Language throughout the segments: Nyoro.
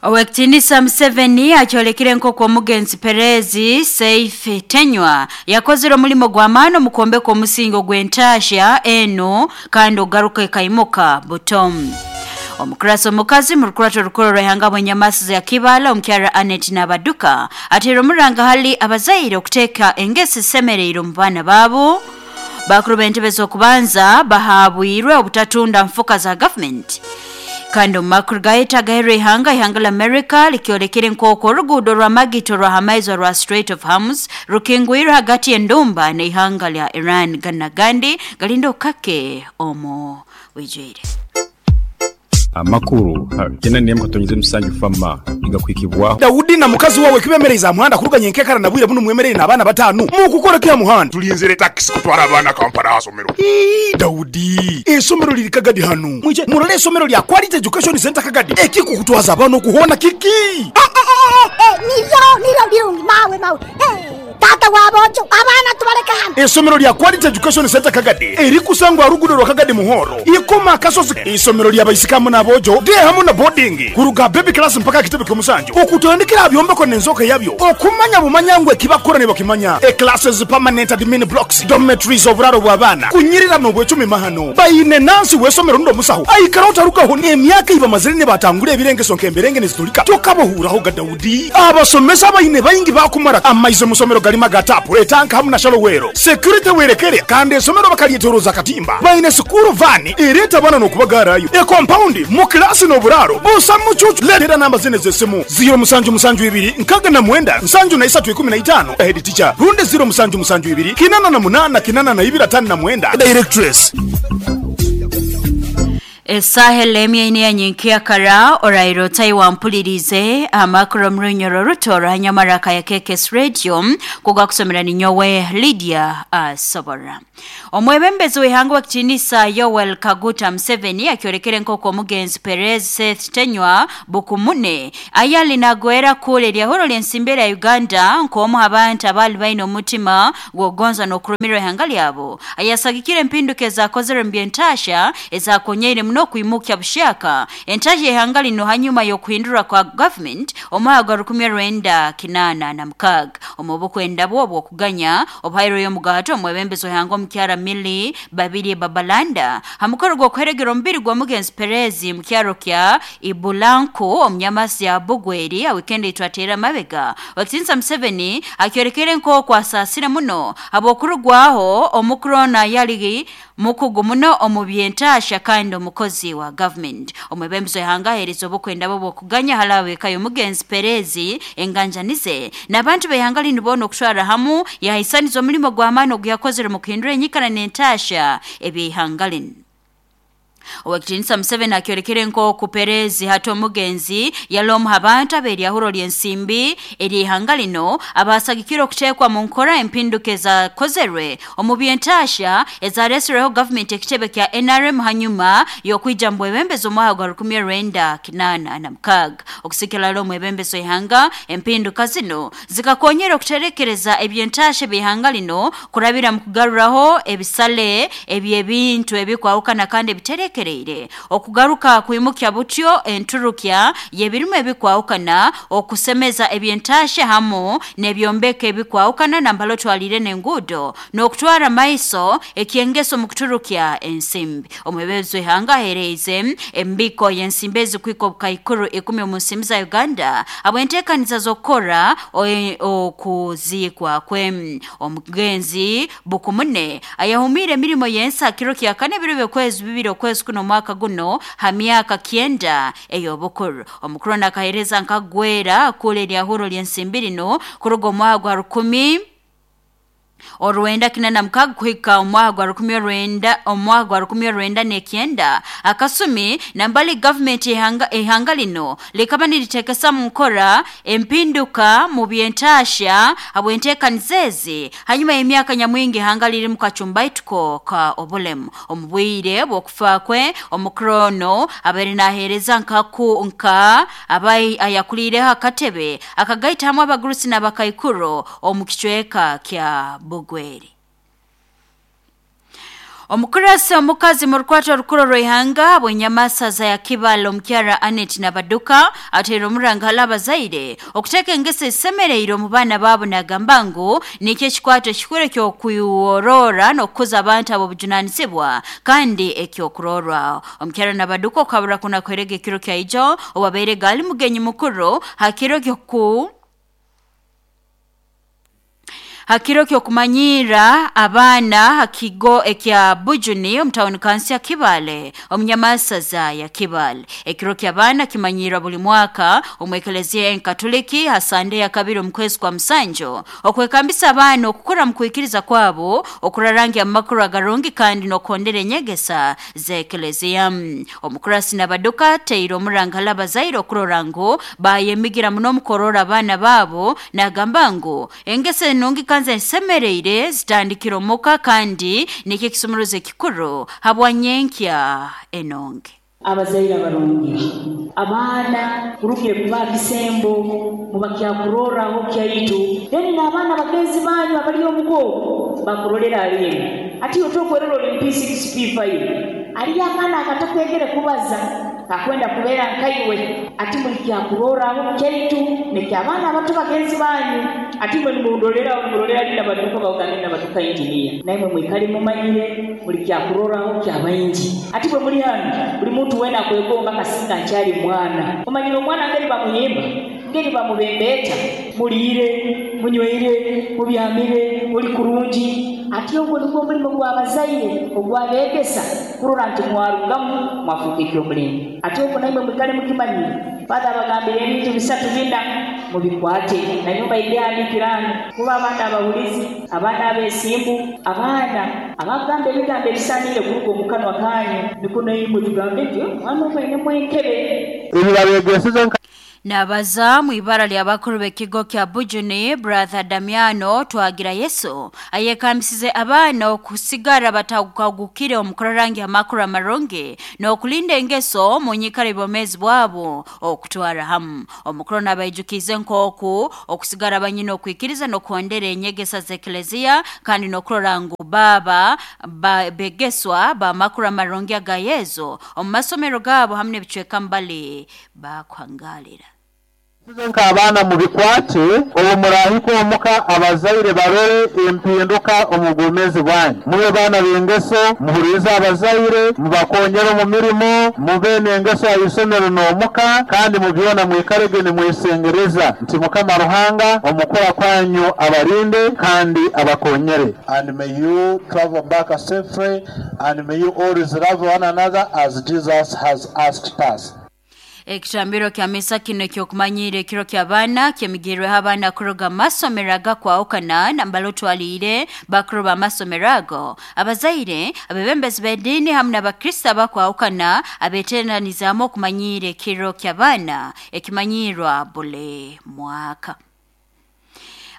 Owekitinisa Museveni akyolekire nk'oku omugenzi Perezi Seif Tenywa yakozere omulimo gw'amaani omu kwombeka omusingi ogw'entaahya enu kandi ogaruka ekaimuka buto. Omukurasi omukazi mu rukurato orukuru rw'ihanga bw'enyamasu za Kibale omukyara Annet Nabaduka ateire omuranga hali abazaire okuteeka engeso ezisemeriire omu baana baabo. Bakuru b'entebe z'okubanza bahabwirwe obutatunda nfuka za gavumenti. Kandi omu makuru gaitu agaheerwa ihanga, ihanga lya Amerika likyolekere nk'oku oruguudo rwa Magito orwa h'amaizi orwa Strait of Hormuz rukingwirwe hagati y'endumba n'ihanga lya Iran. Ganu n'agandi galinde okukake omu bwijwire. Amakuru kyenda n'emu katonyeze musanju FAMA nigakuhikibwaho. Daudi na mukazi wawe kibemereize aha muhanda kuruga nyenkekara na bwire bunu mwemereire n'abaana batanu. Mukukora ki aha muhanda? Tulinzire takisi kutwara abaana Kampala aha somero. Ii, Daudi, eisomero liri Kagadi hanu. Mwije murole eisomero lya Quality Education Centre Kagadi. Ekikukutwaza abaana oku hoona kiki? Niryo, niryo birungi mawe, mawe. Taata w'aboojo, abaana tubaleke hanu. Eisomero lya Quality Education Centre Kagadi erikusangwa aha ruguudo rwa Kagadi Muhoro, Ikoma Akasozi. Eisomero lya baisiki hamu n'aboojo, day hamu na boarding, kuruga aha baby class mpaka aha kitebe ky'omusanju, okutandikira aha byombeko n'enzooka yabyo, okumanya bumanya ngu ekibakukora nibakimanya, e-classes, permanent admin blocks, dormitories, oburaaro bw'abaana, kunyirira n'obwecumi mahano. Baine nansi w'eisomero rundi omusaho aikaraho tarugaho n'emyaka ei bamazire nibatangura ebirengeso nk'emberenge nizitulika. Tokabahuuraho ga Daudi. Abasomesa abaine baingi baakumara amaizi omu somero garimu aga taapu, etanka hamu na shallow well. Security werekere kandi esomero bakaryetoroza akatimba. Baine sikuuru vaani ereeta abaana n'okubagaarayo. Ekompaundi mu kilaasi n'oburaaro busa mucuucu. Leetera namba zinu ez'esimu, ziiro musanju musanju ibiri nkaaga na mwenda nsanju na isatu ikumi na itaano, Head teacher, rundi ziiro musanju musanju ibiri kinana na munaana kinana na ibiri ataano na mwenda, Directress. Esaaha elemya ina eya nyenkyakara oraire otai wampuliriize amakuru omu runyoro oruto orwa Nyamaraka ya KKS Radio kugakusomera ninyowe Lydia Asobora. Omwebembezi w'ihanga w'ekitiinisa Yoweri Kaguta Museveni akyolekere nk'oku omugenzi Perez Seth Tenywa Bukumune ayali nagwera kura eryahuro ly'ensimbi erya Uganda nk'omu ha bantu abaali baine omutima gw'okugonza n'okurumirwa ihanga lyabo ayasagikire empinduka ezakozerwe omu by'entaahya ezakonyeire muno okwimukya buhyaka entaahya y'ihanga linu hanyuma y'okuhindurwa kwa gavumenti omwaka gwa 1986. Omu bukwenda bwe obw'okuganya obuhairweyo omugato omwebembezi w'ihanga omukyara Milly Babirye Babalanda ha mukoro gw'okuheregera omubiri gw'omugenzi Perez mu kyaro kya Ibulanku omu nyamasi ya Bugweri ha wiikendi eitwateire amabega. Owekitinisa Museveni akyolekere nk'oku asaasire muno habw'okurugwaho omukurona yali mukugu muno omu by'entaahya kandi omukozi wa gavumenti. Omwebembezi w'ihanga aheerize obukwenda bwe obw'okuganya hali ab'eka y'omugenzi Perez, enganjani ze n'abantu b'ihanga linu boona okutwarra hamu yahaisaniza omulimo gw'amaani oguyakozere omu kuhindura enyikara n'entaahya eby'ihanga linu. Owekitinisa Museveni akyolekere nk'oku Perez hati omugenzi yali omu ha bantu ab'eryahuro ly'ensimbi ery'ihanga lino abaasagikire okuteekwa mu nkora empinduka ezakozerwe omu by'entaahya ezareeserweho gavumenti ekitebe kya NRM hanyuma y'okwija mu bwebembezi omwaka gwa 1986. Okusikira hali omwebembezi w'ihanga, empinduka zinu zikakonyera okuterekereza eby'entaahya eby'ihanga lino kurabira mu kugaruraho ebisale eby'ebintu ebikwahukana kandi ebiterekereire, okugaruka kwimukya butyo enturukya y'ebirimu ebikwahukana, okusemeza eby'entaahya hamu n'ebyombeko ebikwahukana nambali otwaliire n'enguudo n'okutwara maiso eky'engeso omu kuturukya ensimbi. Omwebembezi w'ihanga aheereize embiko y'ensimbi ezikuhika obukaikuru ikumi omu nsimbi za Uganda habw'enteekaniza z'okukora okuziikwa kwe. Omugenzi Bukumune ayahumiire emirimo y'ensi ha kiro kya kana ebiro by'okwezi bibiri okwezi kuno omwaka guno ha myaka kyenda ey'obukuru. Omukuru onu akaheereza nkagwera kura eryahuro ly'ensimbi linu kuruga omwaka gwa rukumi orwenda kinana mukaaga kuhika omwaka gwa rukumi orwenda omwaka gwa rukumi orwenda n'ekyenda akasumi nambali gavumenti ihanga lino likaba niritekesa mu nkora empinduka mu by'entaahya habw'enteekaniza ezi hanyuma y'emyaka nyamwingi ihanga liri mu kacumbaituko ka obulemu. Omu bwire bw'okufa kwe omukuru ono abaire naaheereza nkaku nka abai ayakuliireho akatebe akagaita hamu abagurusi n'abakaikuru omu kicweka kya Bugweri. Omukurasi omukazi mu rukwata orukuru rw'ihanga bw'enyamasaza ya Kibale omukyara Anet Nabaduka ateire omuranga hali abazaire okuteeka engeso esemereire omu baana baabo, nagamba ngu nikyo ekikwato ekikuru eky'okwiworora n'okukuza abantu ab'obujunaanizibwa kandi ekyokurorwaho. Omukyara Nabaduka okabura kuna kuherega ekiro kya ijo owabaire gali mugenyi mukuru ha kiro ky'okumanyira abaana ha kigo ekya Bujuni omu tawuni kansi ya Kibale omunyamasaza ya Kibale. Ekiro ky'abaana kimanyirwa buli mwaka omu ekeleziya enkatoliki ha Sande ya kabiri omu kwezi kwa musanju okwekambisa abaana okukura mu kwikiriza kwabo, okurarangi amakuru agarungi kandi n'okuhondera enyegesa z'ekeleziya. Omukurasi Nabaduka ateire omuranga hali abazaire okurora ngu bayemigira muno omu korora abaana baabo, nagamba ngu engeso enungi kanze nsemereire zitandikira omuka kandi nikyo ekisumuruzo ekikuru habwanyenkya enonge. Abazaire abarungi abaana kurugire kuba kisembo mubakyakuroraho kyaitu, then n'abaana bagenzi banyu abali omugo bakurolera alimu ati otokwerora oli P6 P5 aliyo akaana akatakwegere kubaza kakwenda kubeera nkaiwe, ati muli kyakuroraho kyaitu nekyabaana abato bagenzi banyu, ati mwe nimurolera nimurolera linda baduka baganda nabaduka engineer naimwe mwikale mumanyire muli kyakuroraho kyabaingi, ati bwe muli hano buli muntu wena akwegomba kasinga nkyali mwana omanyire omwana ngeri bamuyimba ngeri bamubembeta muliire munyweire mubyamire muli kurungi, ati ogwo nigwo omulimo gw'abazaire ogw'abeegesa kurora nti mwarugamu mwafuuka eky'omulembe, ati ogwo naimwe mwikale mukimanyire. Father abagambire ebintu bisatu bina mubikwate na nyumba ibyahandikirano kuba abaana abahulizi, abaana abeesimbu, abaana abagamba ebigambo ebisaaniire kuruga omu kanwa kanyu, niko naimwe tugambe nti omwana ogu ainemu enkebe. Ebibabeegeseze. Nabaza mu ibara ly'abakuru b'ekigo kya Bujuni Brother Damiano Twagira Yesu ayekambisize abaana okusigara batagukagukire omu kurarangi amakuru amarungi n'okulinda engeso mu nyikara ebyomeezi bwabo okutwara hamu. Omukuru n'abaijukize nk'oku okusigara banyina okwikiriza n'okuhondera enyegesa z'ekeleziya kandi n'okurora ngu baba begeswa b'amakuru amarungi aga Yesu omu masomero gaabo hamu n'ebicweka mbali bakuhangalira. Nk'abaana mubikwate obu murahika omuka abazaire barore empinduka omu bwomeezi bwanyu, mube baana b'engeso, muhulirize abazaire, mubakonyere omu mirimo, mube n'engeso aha isomero n'omuka, kandi mu byona mwikarege nimwesengereza nti Mukama Ruhanga omukura kwanyu abarinde kandi abakonyere. And may you travel back safely, and may you always love one another as Jesus has asked us. Ekitambiro kya misa kino ekyokumanyira ekiro ky'abaana kyemigirweho abaana kuruga masomero agakwahukana nambala otwaliire bakuru b'amasomero ago, abazaire, abebembezi b'ediini hamu n'abakristo abakwahukana abeeteranizaamu okumanyiira ekiro ky'abaana ekimanyirwa buli mwaka.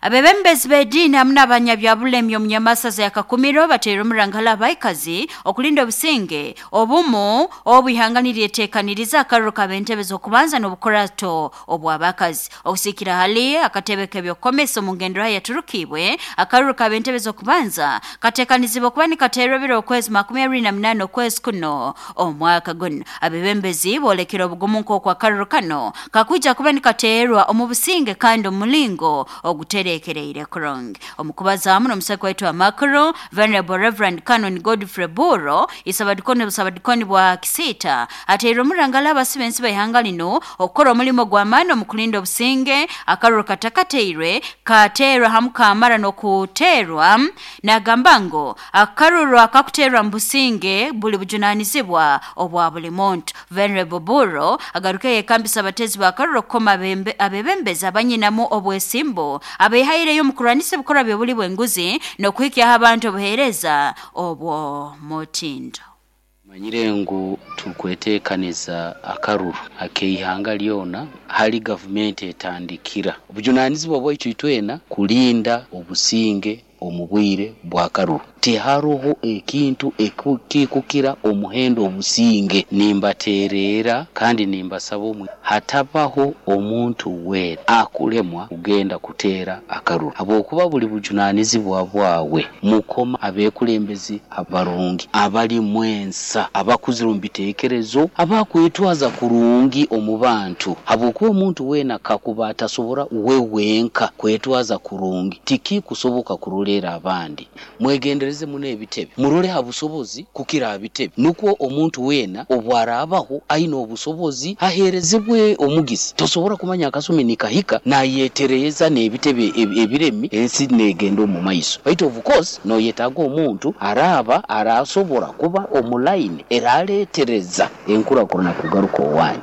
Abebembezi b'ediini hamu n'abanyabyabulemi omu nyamasaza ya Kakumiro bateire omuranga hali abaikazi okulinda obusinge obumu obu ihanga niryeteekaniriza akaruru k'ab'entebe z'okubanza n'obukurato obw'abakazi. Okusiikira hali akatebe k'ebyokukomesa omu ngenderaho yaturukibwe akaruru k'ab'entebe z'okubanza kateekanizibwa kuba nikateerwa ebiro okwezi 28 okwezi kuno omwaka guno. Abebembezi boolekere obugumu nk'oku akaruru kano kakwija kuba nikateerwa omu businge kandi omu mulingo ogutereekereire kurungi. Omukubaza hamu n'omusako waitu amakuru Venerable Reverend Canon Godfrey Buro isabadikoni obusabadikoni bwa Kisita ateire omuranga hali abasibe b'ihanga lino okukora omulimo gw'amaani omu kulinda obusinge akaruru katakateirwe kateerwa hamu kamara n'okuteerwa, nagamba ngu akaruru akakuteerwa mu businge buli bujunaanizibwa obwa buli muntu. Venerable Buro agaruke yekambisa abatezi b'akaruru okukoma abebembezi abanyinamu obwesimbu abehaireyo omu kurwanisa ebikorwa by'obuli bw'enguzi n'okuhikyaho abantu obuheereza obwo mutindo. Manyire ngu tukweteekaniza akaruru ak'eihanga lyona hali gavumenti etandikira obujunanizibwa bwaitu itwena kulinda obusinge omu bwire bw'akaruru. Tiharoho ekintu ekikukira omuhendo obusinge. Nimbateererra kandi nimbasaba omwe hatabaho omuntu weena akulemwa kugenda kuteera akaruru, habwokuba buli bujunaanizibwa bwawe. Mukoma abeekulembezi abarungi, abalimu ensa, abakuzire omu biteekerezo, abakwetwaza kurungi omu bantu, habwokuba omuntu weena kakuba atasobora we wenka kwetwaza kurungi, tikikusoboka kuroleera abandi. Mwegendereze muno ebitebe, murole ha busobozi kukira ha bitebe, nukwo omuntu weena obu araabaho aine obusobozi aheerezebwe omugisa. Tosobora kumanya akasumi nikahika nayetereeza n'ebitebe ebiremi, ensi neegenda omu maiso. Baitu of course noyetaaga omuntu araaba araasobora kuba omu line eraaleetereza enkurakurana kugaruka owanyu.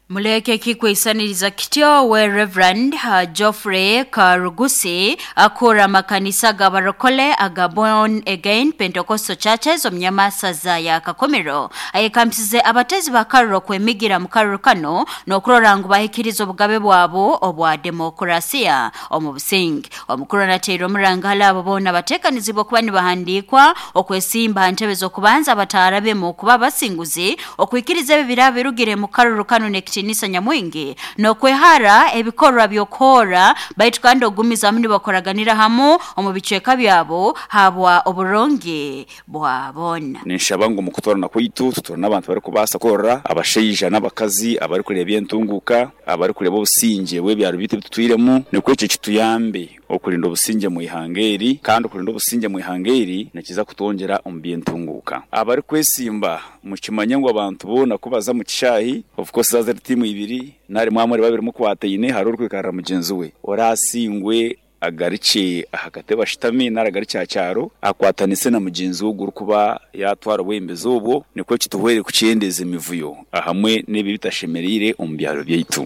Muleke kikweisaniriza kityo we Reverend Geoffrey Karugusi akura makanisa g'abarokole aga Born Again Pentecostal Churches omu nyamasaza ya Kakomero ayekambisize abatezi ba karuro kwemigira mu karuro kano n'okurora ngu bahikiriza obugabe bwabo obwa demokrasiya omu businge. Omukuru anateire omuranga hali abo boona bateekanizibwa kuba nibahandiikwa okwesimba ha ntebe z'okubanza bataarabemu kuba abasinguzi okwikiriza ebi biraba birugire mu karuro kano n'ekitiinisa nyamwingi n'okwehara ebikorwa by'okuhoora, baitu kandi okugumizamu nibakoraganira hamu omu bicweka byabo habwa oburungi bwa boona. Ninshaba ngu omu kutoorana kwaitu tutoorane abantu abarikubaasa kukorera abashaija n'abakazi abarikureeba entunguuka, abarikureeba obusingye bw'ebyaro byaitu ebi tutwiremu, nikwo ekyo kituyambe okurinda obusingye omu ihanga eri kandi okurinda obusingye omu ihanga eri nikiza kutwongyera omu by'entunguuka. Abarikwesimba mukimanye ngu abantu boona ku baza omu kishaayi, of course zaaba ziri tiimu ibiri nari mwaba muri babiri mukwataine hariho orikwikarira mugyenzi we, oraasingwe agarukye aha katebe ashutame nari agarukye aha kyaro akwatanise na mugyenzi we ogwo orikuba yaatwara obwebembezi obwo nikwo kituhwere kukyendeeza emivuyo ahamwe n'ebi ebitashemereire omu byaro byaitu.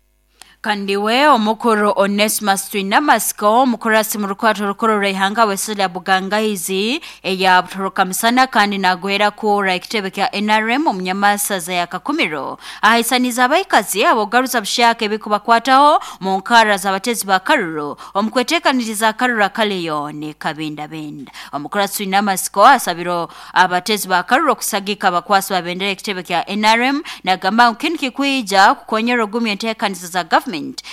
Kandi we omukuru Onesmus Twinamasiko, omukurasi mu rukwato orukuru rw'eihanga w'esaza lya Bugangaizi eya Butoroka-Misana kandi naagwera kuura ekitebe kya NRM omu nyamasaza ya Kakumiro, ahaisaniize abaikazi ab'okugaruza bushyaka ebikubakwataho mu nkarra z'abatezi ba karuru omu kweteekaniriza akaruru akaliyo nikabindabinda. Omukurasi Twinamasiko asabire abatezi ba karuru okusagika abakwasi ba bendera y'ekitebe kya NRM nagamba ngu kinu kikwija kukonyera okugumya enteekaniza za gavumenti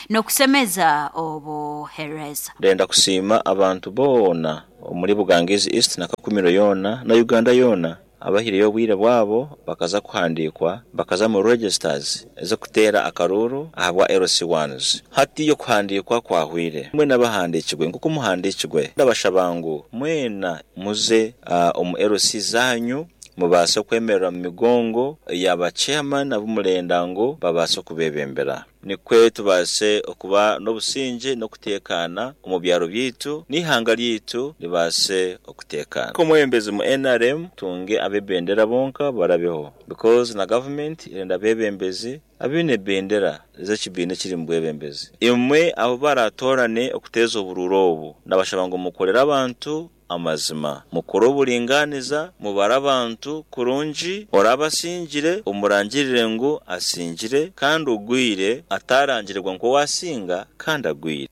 n'okusemeza obuheereza. Ndenda kusiima abantu boona omuri Bugangaizi East na Kakumiro yoona na Uganda yoona abahaireyo obwire bwabo bakaza kuhandiikwa bakaza omu registers ez'okuteera akaruuru ahabwa LC ones. Hati okuhandiikwa kwahwire. Mwena abahandiikirwe nk'oku muhandiikirwe ndabashaba ngu mwena Muze omu LC zaanyu mubaase okwemerera omu migongo ya ba chairman abu murenda ngu babaase okubebembera. Nikwe tubaase okuba n'obusingye n'okuteekaana omu byaro byaitu n'eihanga ryaitu ribaase okuteekaana. Nk'omwebembezi mu nrm tunge ab'ebendera bonka barabeho because na government erenda abebembezi Abaine ebendera z'ekibiina ekiri omu bwebembezi. Imwe abu baraatoorane okuteeza oburuuru obu, nabashaba ngu mukorere abantu amazima, mukore oburingaaniza, mubare abantu kurungi, oraabe asingire omurangirire ngu asingire, kandi ogwire ataarangirirwa nk'owaasinga kandi agwire.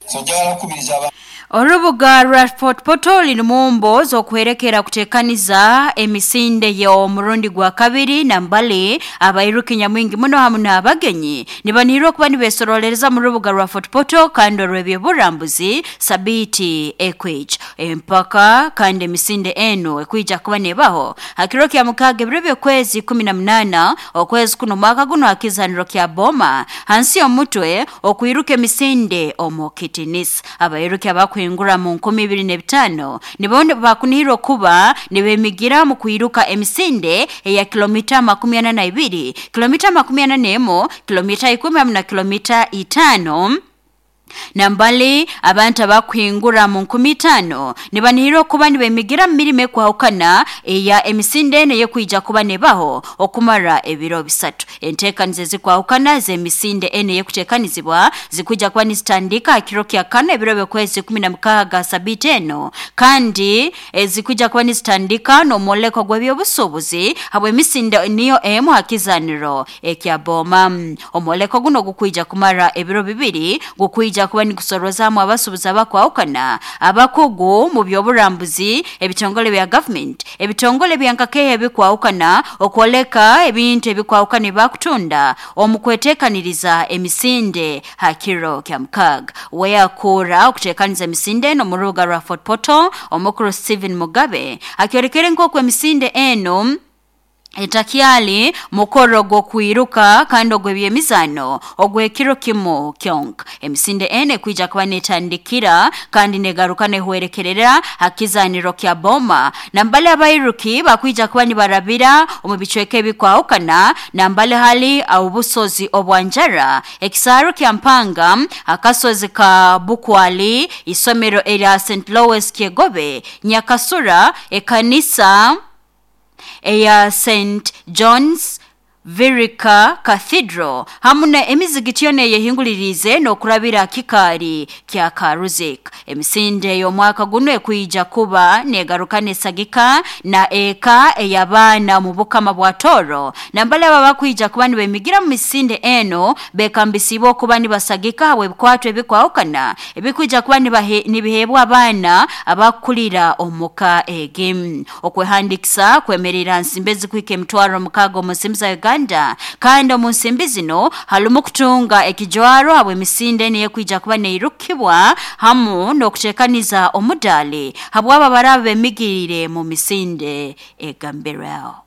Orubuga rwa Fort Portal nimwo z'okuhwerekera kutekaniza emisinde y'omurundi gwa kabiri nambali abairuki nyamwingi muno hamu n'abagenyi nibanihirwa kuba nibesorolereza mu rubuga rwa Fort Portal kandi orw'ebyoburambuzi sabiiti ekwija empaka kandi emisinde enu ekwija kuba nebaho ha kiro kya mukaaga ebiro by'okwezi 18 okwezi kuno omwaka guno ha kizaniro kya Boma hansi y'omutwe okwiruka emisinde omu kitinisa. Abairuki abakuhingura mu 2005 nibo bakunihirwa kuba nibemigira omu kwiruka emisinde eya kilomita 42, kilomita 41, kilomita 10 hamu na kilomita 5. Nambali abantu abakuhingura mu 5000 nibanihirwa kuba nibemigira mu mirimo ekwahukana eya emisinde enu eyekwija kuba nebaho okumara ebiro bisatu. Enteekaniza ezikwahukana z'emisinde enu eyekuteekanizibwa zikwija kuba nizitandika ha kiro kya kana ebiro by'okwezi 16 sabiiti enu kandi zikwija kuba nizitandika n'omwoleko gw'ebyobusuubuzi habw'emisinde niyo emu ha kizaniro ekya Boma. Omwoleko guno gukwija kumara ebiro bibiri gukwija Gukwija kuba nigusorozaamu abasuubuzi abakwahukana, abakugu mu by'oburambuzi, ebitongole bya gavumenti, ebitongole bya nkakeeha ebikwahukana okwoleka ebintu ebikwahukana ebakutunda omu kweteekaniriza emisinde ha kiro kya mukaaga. Weyakuura okuteekaniza emisinde enu omu rubuga rwa Fort Portal, omukuru Stephen Mugabe akyolekere nk'oku emisinde enu etakyali mukoro gw'okwiruka kandi ogw'ebyemizaano ogw'ekiro kimu kyonka. Emisinde enu ekwija kuba netandikira kandi negaruka nehwerekerera ha kizaaniro kya Boma. Nambale abairuki bakwija kuba nibarabira omu bicweka ebikwahukana nambale hali obusozi obwa Njara, ekisaaru kya Mpanga, akasozi ka Bukwali, isomero erya St. Louis Kyegobe, Nyakasura, ekanisa eya St. John's Virika Cathedral hamu na emizigiti yona eyehinguliriize n'okurabira kikaari kya Karuzik. Emisinde y'omwaka guno ekwija kuba negaruka nesagika na eka ey'abaana omu bukama bwa Toro. Nambale aba bakwija kuba nibemigira mu misinde eno bekambisiibwe okuba nibasagika habw'ebikwato ebikwahukana ebikwija kuba nibiheebwa abaana abakukulira omuka egi. Okwehandikisa kwemerera nsimbi ezikuhika 60,000 omu nsimbi za Uganda kandi omu nsimbi zino harimu kutunga ekijwaro habw'emisinde enu ekwija kuba neirukibwa hamu n'okuteekaniza omudaali habwabo abaraba bemigiriire mu misinde egambirweho.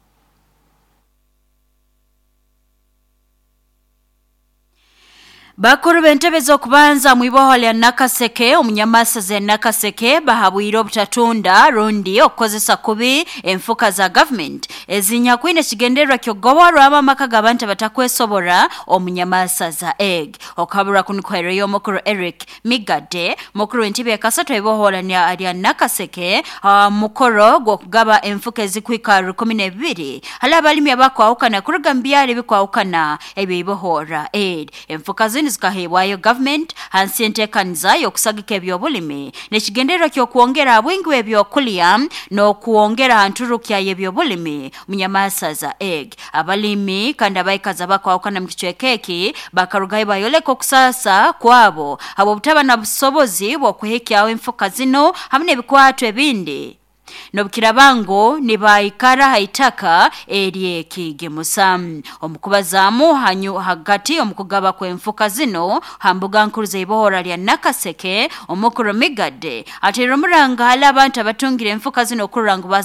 Bakuru b'entebe z'okubanza mu iboho lya Nakaseke omunyamasaza ya Nakaseke bahabwire obutatunda rundi okukozesa kubi enfuka za gavumenti ezinyakwine ekigendererwa ky'okugoborwamu amaka g'abantu abatakwesobora omunyamasaza egg. Okuhabura kunu kuhaireyo omukuru Eric Migade, mukuru w'entebe ya kasatu eiboho lya Nakaseke ha mukoro gw'okugaba enfuka ezikuhika 12 hali abalimi abakwahukana kuruga mu byaro ebikwahukana eby'eibohora eri. Enfuka zinu zikaheebwayo gavumenti hansi y'enteekaniza y'okusagika eby'obulimi n'ekigendererwa ky'okwongera ha bwingi bw'ebyokulya n'okwongera ha nturukya y'ebyobulimi munyamasaza egg. Abalimi kandi abaikazi abakwahukana mu kicweka eki bakarugayo bayoleka okusaasa kwabo habw'obutaba na busobozi bw'okuhikyaho enfuka zinu hamu n'ebikwato ebindi n'obukiraba ngu nibaikara ha itaka eryekigimusa. Omukubazaamu hanyu hagati omu kugaba kw'enfuka zino ha mbuga nkuru z'eibohora lya Nakaseke, omukuru Migade ateire omuranga hali abantu abatungire enfuka zino okurora ngu baze